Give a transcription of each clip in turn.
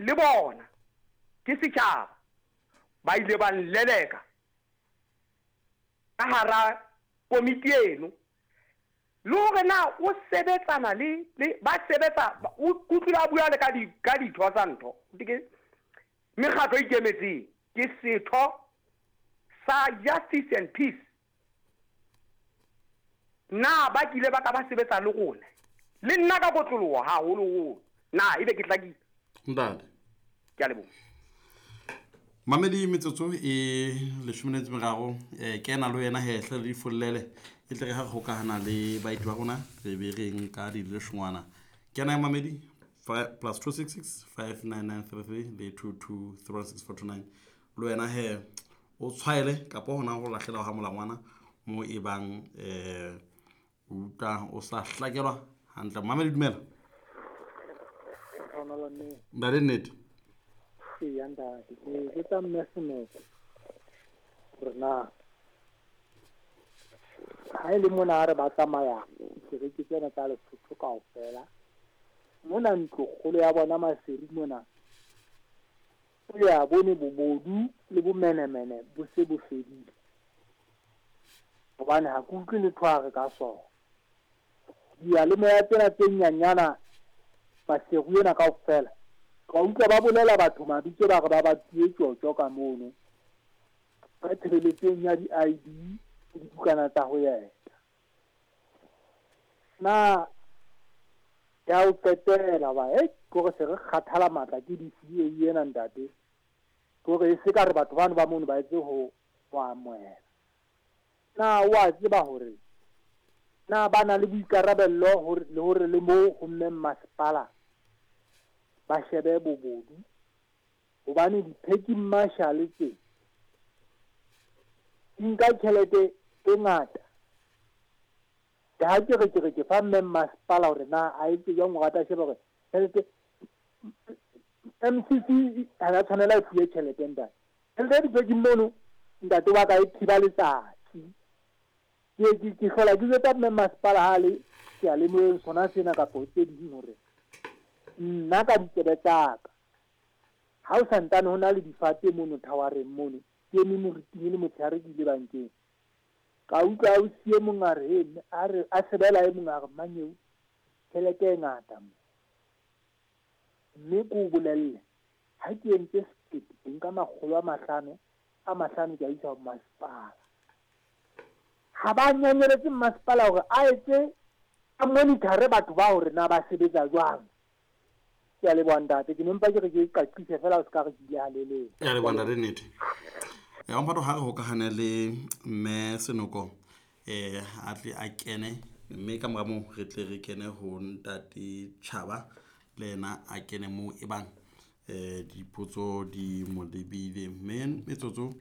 Le bona ke setjhaba ba ile ba nleleka ka hara komiti eno. Le hore na o sebetsana le, le ba sebetsa, o utlwile a bua le ka di, ka ditho tsa ntho, ke mekgatlo e ikemetseng, ke setho sa Justice and Peace. Na ba kile ba ka ba sebetsa le rona? Le nna ka kotloloho haholoholo. Na ebe ke hlakile? Ntate. Ke a leboha. Mamedi metsotso e leshome le metso meraro um kena le wena hehle le difollele e tle re ha re gokagana le baeti ba rona re be re nka dileshongwana kena ya mamedi plus 266 59933 le 2236429 le wena he o tshwaele kapa hona go lahlela ga molangwana mo e bang um o utlwa o sa hlakelwa hantle. Mamedi, dumela. Ntate, nnete. Eya ntate, ke botsa mme Senoko hore na ha e le mona ha re ba tsamaya dikereke tsena tsa Lesotho kaofela mona ntlokgolo ya bona Maseru mona o ya bone bobodu le bomenemene bo se bo fedile, hobane ha ke utlwe letho a re ka sona. Diyalemoya tsena tse nyanyana Maseru ena kaofela ka utlwa ba bolela batho mabitso ba re ba batuwe tjotjo ka mono ka tshebeletsong ya di-ID le dibukana tsa ho eta. Na ya ho qetela ba e kore se re kgathala matla ke DCA ena ntate, kore e se ka re batho bano ba mono ba etse ho amohela. Na o a tseba hore na ba na le boikarabello hore le hore le mo ho mme mmasepala ba shebe bobodu, hobane di-parking marshal tse di nka tjhelete e ngata. Ke ha ke re ke re ke fa mme mmasepala hore na a etse jwang hore a tla sheba hore tjhelete MCC ha ya tshwanela e fuwe tjhelete ntate. Tjhelete ya di-parking mono ntate wa ka e thiba letsatsi. Ke hlola ke jwetsa mme mmasepala ha le seyalemoyeng sona sena kapa tse ding hore nna ka ditsebe tsa ka ha o santsane ho na le difate mono thawareng mono, ke eme moriting e le motshehare ke ile bankeng. Ka utlwa ausi e mong a re, he, a re, a sebela e mong a re, mmanyeo, tjhelete e ngata mo. Mme ke o bolelle, ha ke entse sekete, ke nka 500, a mahlano ke a isa ho masepala. Ha ba nyanyeletse mmasepala hore a etse, a monitor-e batho ba hore na ba sebetsa jwang. Ke a leboha ntate, ke ne mpa ke re ke qaqise fela o se ka re ke ile halelele. Ke a leboha ntate, nnete. Ya mphato ha re hokahane le mme Senoko a tle a kene, mme ka mora moo re tle re kene ho ntate Tjhaba le yena a kene moo e bang dipotso di mo lebile. Mme metsotso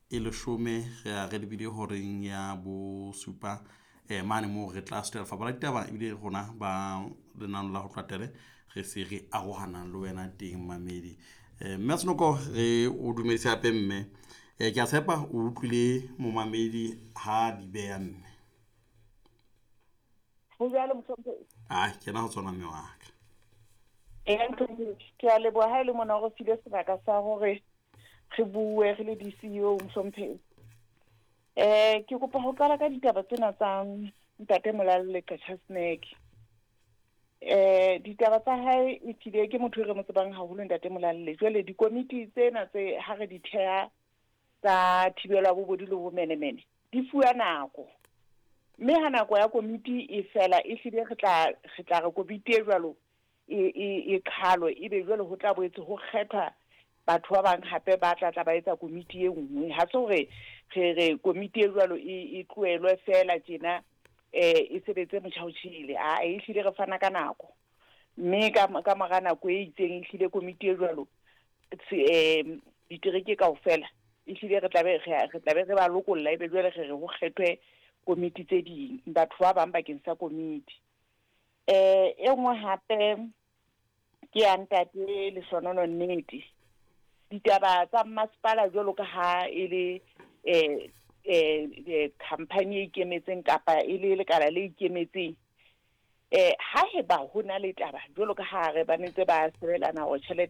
e leshome re a re lebile horeng ya bosupa mane moo re tla sutela lefapha la ditaba ebile rona ba lenano la ho tlatele re se re arohana le wena teng mamedi. Mme Senoko re o dumedise hape mme. Ke a tshepa o utlwile momamedi ha di beha mme. Ho jwalo mohlomphehi. Ah, kena ho tsona mme wa ka. Mohlomphehi, ke a leboha ha e le mona o re file sebaka sa hore re bue re le DCEO mohlomphehi. Ke kopa ho qala ka ditaba tsena tsa ntate Molalle Qachaseneke. Ditaba tsa hae e tlile ke motho e re mo tsebang haholo ntate Molalle. Jwale dikomiti tsena tse ha re di theha tsa thibelo ya bobodu le bomenemene di fuwa nako. Mme ha nako ya komiti e fela e hlile re tla re komiti e jwalo e qhalwe, ebe jwale ho tla boetse ho kgethwa batho ba bang hape ba tla tla ba etsa komiti e nngwe. Ha se hore re re komiti e jwalo e tlohelwe fela tjena e sebetse motjhaotjhele. A e hlile re fana ka nako. Mme ka mora nako e itseng e hlile komiti e jwalo ditereke kaofela e hlile re tla be re ba lokolla, ebe jwale re re ho kgethwe komiti tse ding, batho ba bang bakeng sa komiti. E nngwe hape ke ya ntate Lehlonono Nnete. Ditaba tsa mmasepala jwalo ka ha e le company e ikemetseng kapa e le lekala le ikemetseng, ha eba ho na le taba jwalo ka ha re ba ntse ba sebelana hore tjhelete